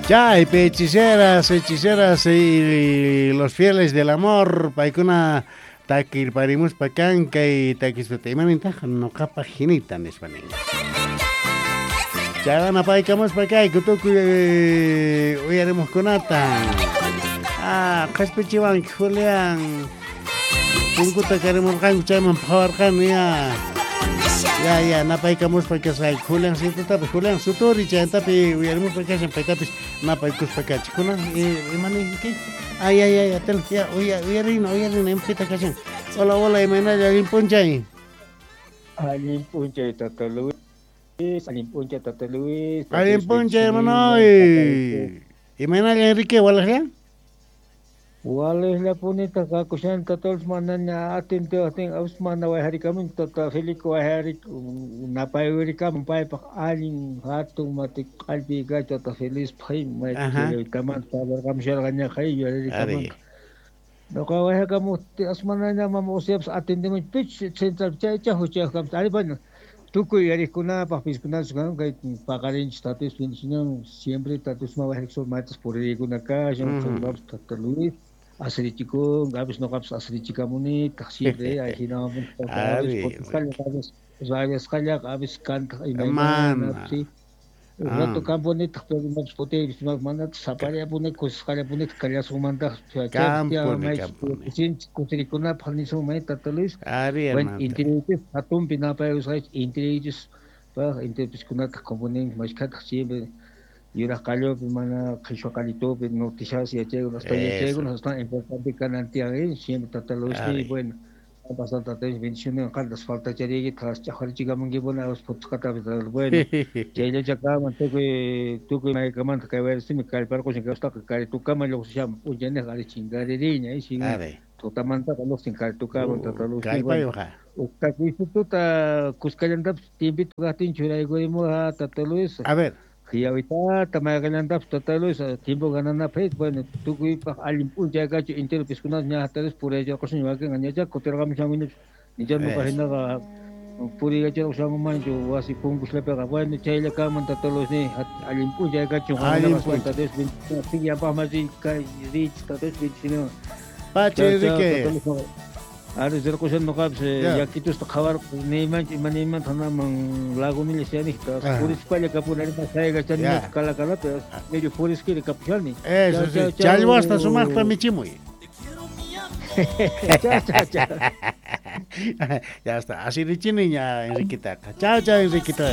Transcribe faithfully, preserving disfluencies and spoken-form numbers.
Chaypi hechiceras, hechiceras y los fieles del amor, paykuna takirparimuspa kan kay takispata imanintaq noqapaq hinita nispa nin. Chaywana paykamuspa kayku tukuy uyarimuqkunata. Ah, qhispichiwanki Julián. Punkuta karimurqanku chayman phawarqani ya. Ya, ya, napaykamuspa kasqayku Julián situtapis, Julián Suturi chayantapi uyarimuspa kashan paytapis napaykuspa kachik. Kunan imaninki? Ay, ay, ay, atel, ya, uya, uyarina, uyarina, imapita kashan. Hola, hola, imaynalla, allin p'unchay. Allin p'unchay, Tata Luis, allin p'unchay, Tata Luis. Allin p'unchay, hermano. Imaynalla, Enrique, walajlla? Walejllapunitaq kakushan Tata Luis manaña atintiwajtin awis mana wayharikamun Tata Felipe wayharik napaywirikamun paypaq allin hatun mati q'allpi kach Tata Felispaq maytamanta parlarqamusharqañaqa yuyaririkamanta. Noqa wayhakamuqti asmanaña mama usiapas atindimun pich central chaycha huchayuq kamus ari bueno tukuy yuyariqkunapaq piskunapas kay paqarinchis Tata Luis bendicionan siempre Tata Luis wayhariksu maytas puririkuna kashan chaywanpas Tata Luis asirichikun, a veces noqapas asirichikamunitaq siempre ajinawan rayasqallaqa a veces kantaq imaymanapis rato kampunitaq pero imapas putiypis manataq sapallapuni kusisqallapunitaq kallasunmantaq sinchi kusirikunapaq nisunman Tata Luis. Bueno, intiriychis hatunpi napaykusqaychis intiriychis paq intirpiskunataq componen mashkhataq siempre yuraq qallupi mana qhichwa qallitupi noticias yachaykuna hasta yachaykuna hasta importante kanan tiyan siempre Tata Luis bueno pasanta Tata Luis bendiciones qantas faltachariyki ch'aqwarichikamunkipuni awas phutisqatapis bueno chayllacha kaman tukuy tukuy maykamanta kay wayrisimi kallparqushan kawsataqa karitukama lluqsishaman p'unchayniq ari chinkaririña tutamantaqa lluqsin karitukaman Tata Luis uqtakuysututa kuskallantapis tiempito kaqtin churaykurimuqa Tata Luis. A ver. Qhiyawitata mayqallantapis Tata Luis tiempo gananapaq bueno tukuypaq allin p'unchay kachu entero piskunapas ña Tata Luis puriyacharqushan wakinqa ñachá kutirqamushankuñachu nicha nuqa hinaqa puriyacharqushankumanchu wasi punkusllapiqa bueno chaylla kanman Tata Luis ni allin p'unchay kachu Tata Luis yapaqmasi kay richis Tata Luis bendiciones. Pacha Enrique. Ari rirqushan nuqapis yakitusta qhawarqu niymanchu ima niymanta hanaman lagunilla shanikta purispalla kapuni ari saykachani kalakalapi medio puriskiri kapushani. Eso sí, challwasta sumaqta michimuy. Chao, chao, chao. Ya está, así richini ña Enriquitaqa. Chao, chao Enriquito.